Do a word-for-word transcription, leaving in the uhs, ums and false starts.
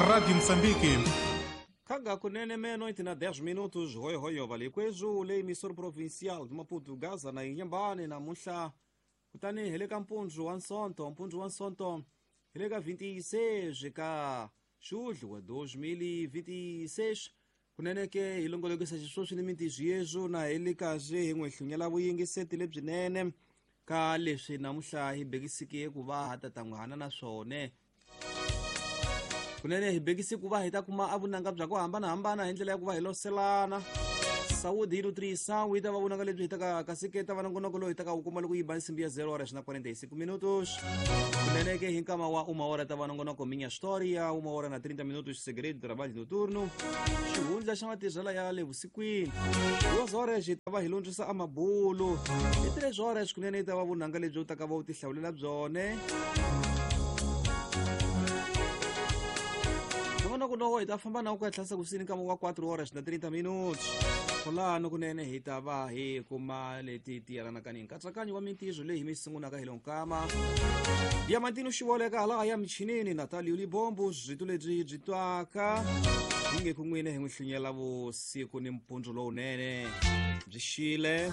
Rádio Moçambique. Kaga kunene meia-noite na dez minutos, hoi hoi valikwezu le emissor provincial de Maputo, Gaza na Inhambane na Munhla. Kutani hi le ka mpundzu wa Nsonto, mpundzu wa Nsonto hi le ka vinte e seis ka julho wa dois mil e vinte e seis. Kunene ke hi longolokisa xisweswi ni mintirho yezu na hi le kahle hi n'wi hlunyela vuyingiseti lebyinene ka leswi namuntlha hi bekisike ku va ha ta ta n'wi hana na swona. Kunene hi bekise ku va hi ta kuma avunanga bya ku hambanahambana hi ndlela ya ku va hi loselana. Saúde e nutrição yi ta va vunanga lebyi hi taka kasi ke ta va nongonoko lowu hi taka wu kuma loko yi ba nsimbi ya zero horas na quarenta e cinco minutos. Kunene ke hi nkama wa uma hora ta va nongonoko Minha História, uma hora na trinta minutos Segredo Trabalho Noturno, xihundla xa matirhela ya le vusikwini. Duas horas hi ta va hi lundzisa amabulu. Hi três horas kunene yi ta va vunanga lebyi u taka va u tihlawulela byone. Nongonoko lowu hi ta famba na ku ya tlhasa kusini nkama wa quatro horas na trinta minutos. Kwalano kunene hi ta va hi kuma leti ti yelanaka ni nkatsakanyo wa mintirho leyi hi mi sungulaka hi lonkama. Diamantino Xivoleka hala ya michinini, Natalio Libombo, byitu lebyi byi twaka hi nge ku n'wina hi n'wi hlunyela vusiku ni mpundzu lowunene byi xile.